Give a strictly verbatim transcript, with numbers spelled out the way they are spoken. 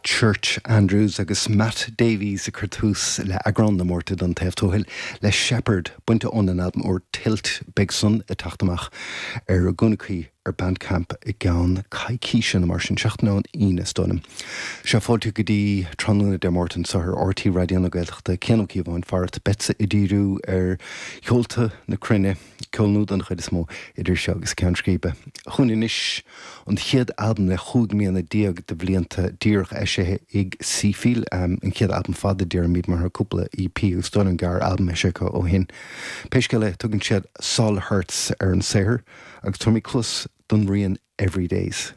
Church Andrews agus Matt Davies ag cur tús le eagrán na Márta den Taobh Tuathail le Shepherd bainte ón albam úr Tilt beidh san ag teacht amach ar a gúnaí ar Bandcamp i gceann coicíse mar sin seachtain ón Aoine is dóigh liom. Sea fáilte go dtí tráthnóna Dé Máirt anseo ar RTÉ Raidió na Gaeltachta Cian Ó Cíobháin farat beadsa ag díriú ar cheolta na cruinne ceol nua den chuid is mó idir seo agus ceann scríbe. Chugainn anois an chéad albam le cúig mbliana déag de bhlianta díreach eisithe ag Seefeel um, an chéad albam fada déarfainn mar cúpla EP agus dul an gar albam eisithe ó shin. Pé scéal é tugann siad Sol Hertz ar an saothar agus tabharfaimid cluas don rian Everydays.